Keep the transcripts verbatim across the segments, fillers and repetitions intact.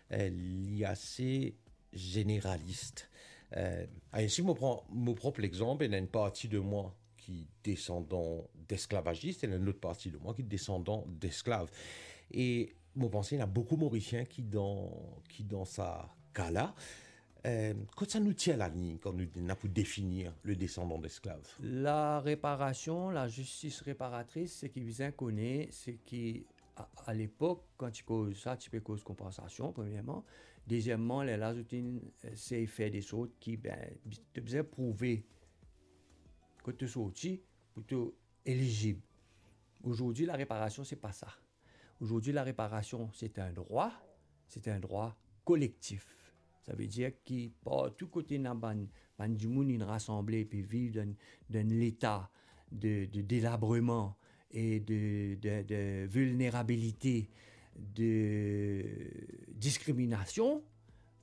Eh, li ase zeneralis. Eh, ainsi, mo pran mo prop lexanp, ena enn parti de mwa ki desandan desklavazis, ena enn lot parti de mwa ki desandan desklav. E mo panse ena boukou Morisien ki dan, ki dan sa ka la. Eh, kot sa nou tir laliy kan nou ena pou definir le desandan desklav? La reparasion, lazistis reparatris, seki bizin kone, seki a, a lepok, kan ti koz sa, ti pe koz konpansasion, premierman. Dezieman, lerla zot inn, eh, sey fer de sort ki, ben, bi-, to bizin prouve kot to sorti pou to elizib. Ozordi, la reparasion, se pa sa. Ozordi, la reparasion, se enn drwa, se enn drwa kolektif. Savedir ki partou kote ena bann, bann dimoun inn rasanble epi viv dan, dan leta de, de delabreman e de, de, de vilnerabilite, de diskriminasion,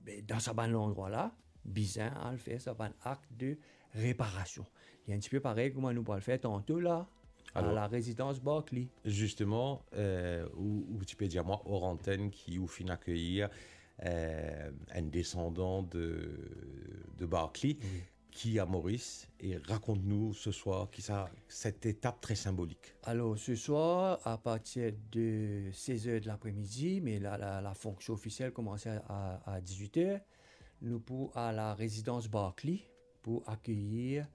be, dan sa bann landrwa la, bizin al fer sa bann akt de reparasion. Li enn tipe parey kouma nou pou al fer tanto la, a Alor, la rezidans Barclay. Zisteman, eh, ou, ou ti pe dir mwa or antenn ki ou finn akeyir, eh, enn desandan de, de Barclay, wi, ki a Moris, e rakont nou se swar ki sa, set etap tre sinbolik. Alor, se swar, apartir de sez er de lapremidi, me la, la, la fonksion ofisiel koumans a, a, a dizwit er, nou pou a la rezidans Barclay pou akeyir,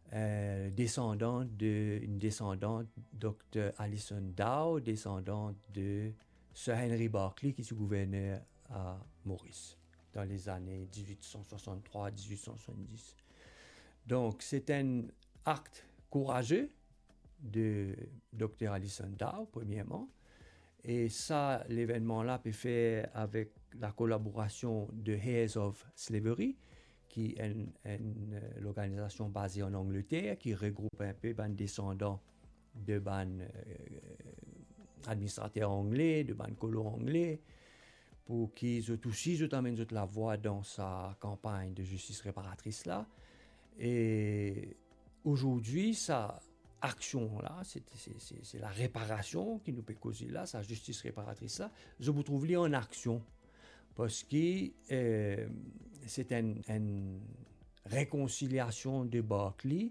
eh, desandan de, enn desandan Dokter Alison Dow, desandan de Sir Henry Barclay, ki ti gouverner a Moris dan lezane dizwit san swasann-trwa, dizwit san swasann-dis. Donk, se enn akt kouraze de Dokter Alison Dow, premierman. E sa, levennman la pe fer avek lakolaborasion de Heirs of Slavery, ki enn, enn, eh, lorganizasion baze an Angleter, ki regroup enpe bann desandan de bann, eh, administrater angle, de bann kolon angle, pou ki zot osi, zot amenn zot lavwa dan sa kanpagn de zistis reparatris la. E ozordi, sa aksion la, se, se, se, se la reparasion ki nou pe koze la, sa zistis reparatris la, zot pou trouv li an aksion. Parski, eh, se enn, enn rekonsiliasion de Barclay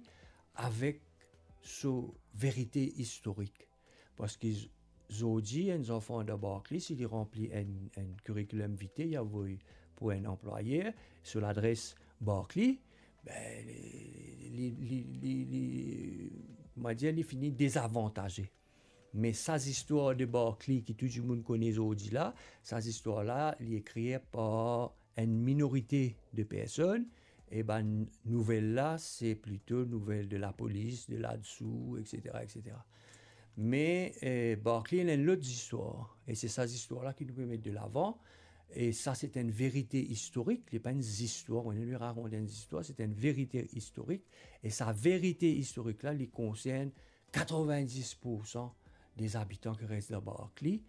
avek so verite istorik. Parski z-, zordi, enn zanfan dan Barclay, si li ranpli enn, enn curriculum vitae, li avoy pou enn anplwayer, so ladres Barclay, be, li, li, li, li, li, mo dir, li fini dezavantaze. Me sa zistwar de Barclay ki tou dimoun kone zordi la, sa zistwar la, li ekrir par enn minorite de personn, e bann nouvel la, se plito nouvel de lapolis, de ladsou, et cetera, et cetera. Me, eh, Barclay, li ena enn lot zistwar, e se sa zistwar la ki nou pe met de lavan, e sa, se enn verite istorik, li pa enn zistwar, nou rakont enn zistwar, se enn verite istorik, e sa verite istorik la, li konsern katrovin-dis poursan de zabitan ki res dan Barclay,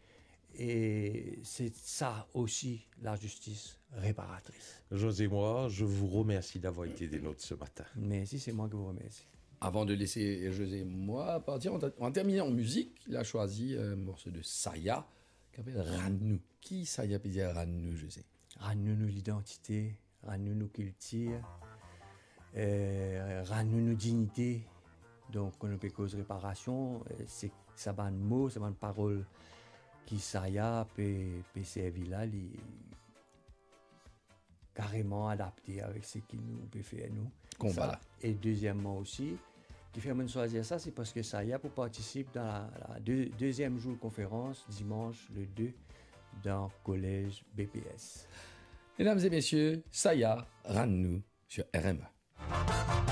e se sa osi lazistis reparatris. José Moy, je vous remercie d'avoir été des nôtres ce matin. Merci, c'est moi qui vous remercie. Avant de laisser José Moy partir, on va, on va terminer en musique. Il a choisi un morceau de Saya, ki apel Rann Nou. Ki Saya pe dir Rann Nou, José? Rann nou nou lidantite, rann nou nou kiltir, eh, rann nou nou dignite. Donk, kan nou pe koz reparasion, eh, se sa bann mo, sa bann parol ki Saya pe, pe servi la, li kareman adapte avek seki nou pe fer nou. Konba la. E dezieman osi, ki fer mo'nn swazir sa, se parski Saya pou partisip dan la, la de-, deziem zour konferans, dimans le de, dan kolez B P S. Mesdames et messieurs, Saya, Rann Nou, sur R M E.